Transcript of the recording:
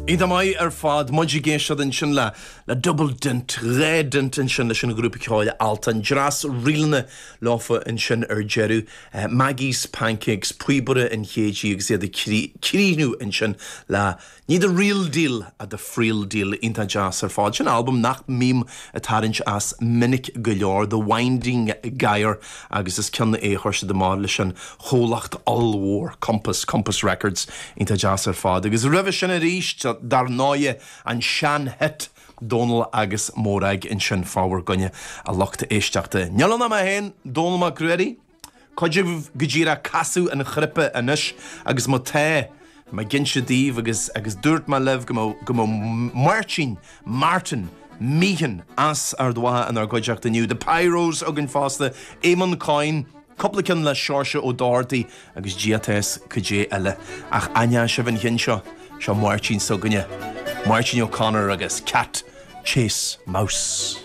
Iontach maith ar fad. Muid ag éisteacht ansin le le Double Dint, 2 dint ansin leis an ghrúpa ceoil Altan. Dreas ríleanna leofa ansin ar deireadh. Maggie's Pancakes, Píobaire an Chéididh agus iad ag críochnú ansin le Ní The Real Deal ach The Friel Deal. Iontach deas ar fad. Sin albam nach mbím ag tarraingt as minic go leor, The Winding Gyre, agus is ceann é a chuir siad amach leis an chomhlacht ollmhór Compass, Compass Records. Iontach deas ar fad. Agus roimhe sin arís, dar ndóighe, an sean-hit Dónal agus Morag ansin fá bhur gcoinne, a lucht éisteachta. Níl ann ach mé féin, Dónal Mac Ruairí. Cuid agaibh go díreach ag casadh an chnaipe anois agus má tá, tá mé ag inse daoibh agus agus dúirt mé libh go mbeadh go mbeadh Máirtín, Martin, Meehan as Ard Mhacha inár gcuideachta inniu, The Pyros againn fosta, Éamonn Coyne, cúpla ceann le Seoirse Ó Dochartaigh agus Dia atá 'fhios cad é eile. Ach aithneoidh sibh an cheann seo, seo Máirtín s'againne, Máirtín O'Connor agus Cat Chase Mouse.